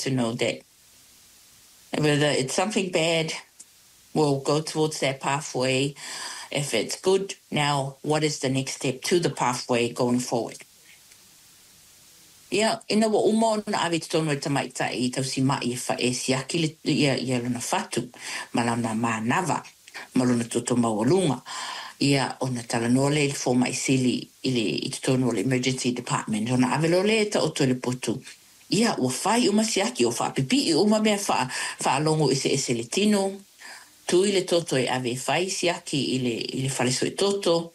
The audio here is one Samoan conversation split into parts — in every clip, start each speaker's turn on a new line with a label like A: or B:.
A: to know that whether it's something bad, we'll go towards that pathway. If it's good, now what is the next step to the pathway going forward? Ia, ina ua uma ona ave i totonu e le tamaitai tausima'i e siaki le, ia, ia lona fatu ma lana manava ma lona toto maualuga, ia, ona talanoa lea i le fomai sili i le, i totonu o le emergency department, ona ave loa lea e taoto i le potu. Ia, ua fai uma siaki, ua faapipi'i uma mea faa, faalogo eseese i le tino, tui le toto e ave e fai siaki i le, i le fale suetoto,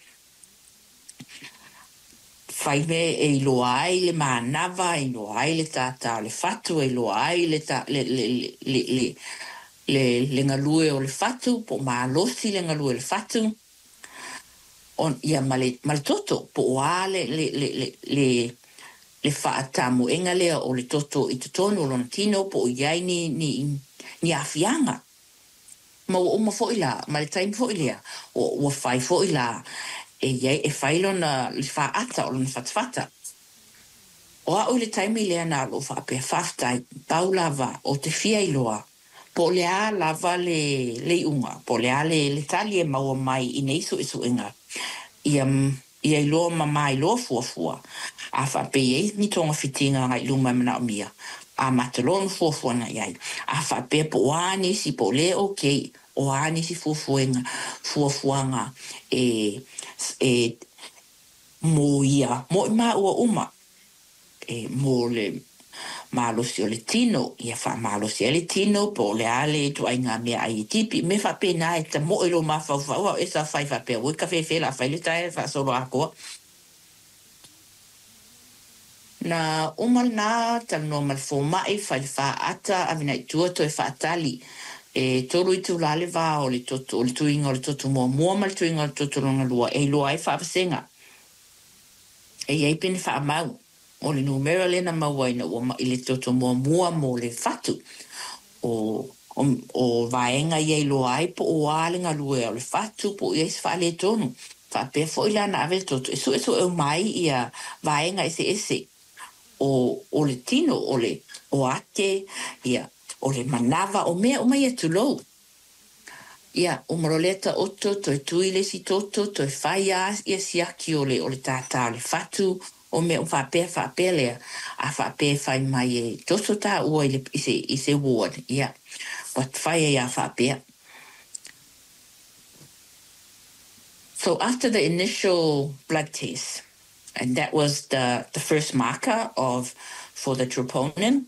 A: Fai mea e iloa ai le manava, e iloa ai le tātā o le fatu, e iloa ai le tā, le, le, le, le, le, le galue o le fatu, po o malosi le galue o le fatu, on, ia ma le, ma le toto, po o a le, le, le, le, le, le faatamoega lea o le toto i totonu o lona tino, po o i ai ni, ni, ni aafiaga. Ma ua uma foi la, ma le taimi foi lea, ua, ua fai foi la e i ai, e fai lona, le faata o lona fatafata. O a'u i le taimi lea na o lou faapea, Faafetai, pau lava o te fia iloa po o le a lava le, le iuga, po o le a le, le tali e maua mai i nei suesuega, ia, ia iloa ma mailoa fuafua, a faapea e i ai ni togafitiga agai i luma e manaomia, amata loa ona fuafua i ai. A faapea po o a nisi, po o le okay, o a nisi fuafuaga, fuafuaga e, e mo ia, mo i māua uma, e mo le malosi o le tino, ia faamalosi ai le tino, po o le a le ituaiga meaai e tipi, mea faapena e tamoe lou mafaufau, a o e sa fai faapea, oi ka fefe la fai le tae faasolo atoa. Na uma lena, talanoa ma le fomai, fai le faata, ave nei tua toe faatali. E tolu itulā le va o le toto, o le tuiga o le toto muamua ma le tuiga o le toto lona lua e iloa ai faavasega. E i ai pene faamau o le numera lea na maua ina ua ma'i le toto muamua mo le fatu o, o, o vaega ia iloa ai po o a le galue o le fatu po o i ai se faaletonu. Faapea foi la na ave le toto e suesue uma ai ia vaega eseese o, o le tino, o le o ate, ia, o le manava, o mea uma ia tulou. Ia, uma loa lea taoto, toe tui le isi toto, toe fai lava ia siaki o le, o le tātā o le fatu, o mea uma faapea, faapea lea, a faapea e fai mai e toto tāua i le, i se, i se ward, ia, ua fai ai lava faapea. So after the initial blood test, and that was the, the first marker of, for the troponin,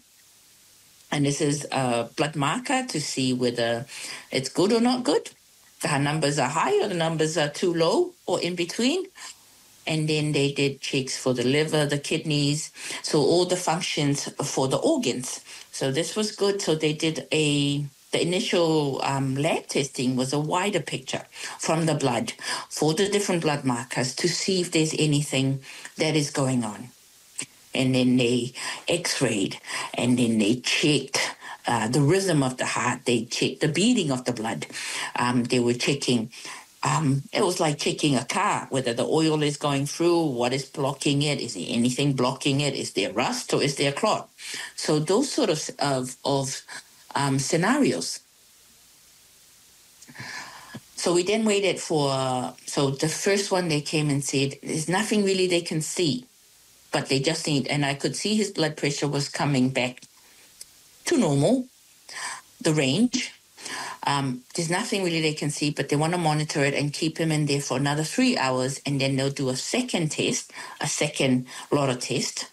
A: and this is a blood marker to see whether it's good or not good. The numbers are high or the numbers are too low or in between. And then they did checks for the liver, the kidneys, so all the functions for the organs. So this was good. So they did a the initial lab testing was a wider picture from the blood for the different blood markers to see if there's anything that is going on. And then they x-rayed and then they checked the rhythm of the heart. They checked the beating of the blood. They were checking it was like checking a car, whether the oil is going through, what is blocking it, is there anything blocking it, is there rust or is there a clot? So those sort of, of, of scenarios. So we then waited for, so the first one they came and said, there's nothing really they can see, but they just need, and I could see his blood pressure was coming back to normal, the range. There's nothing really they can see, but they want to monitor it and keep him in there for another 3 hours, and then they'll do a second test, a second lot of test,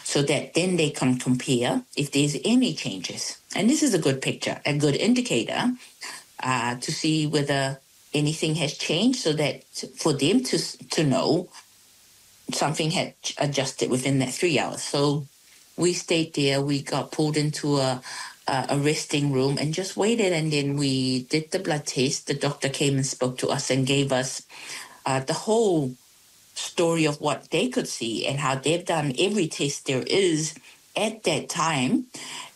A: so that then they can compare if there's any changes. And this is a good picture, a good indicator to see whether anything has changed, so that for them to to know something had adjusted within that 3 hours. So we stayed there. We got pulled into a a resting room and just waited. And then we did the blood test. The doctor came and spoke to us and gave us the whole story of what they could see and how they've done every test there is at that time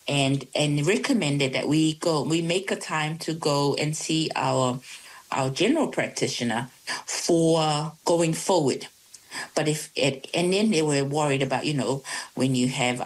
A: and and recommended that we go we make a time to go and see our our general practitioner for going forward. But if it, and then they were worried about, you know, when you have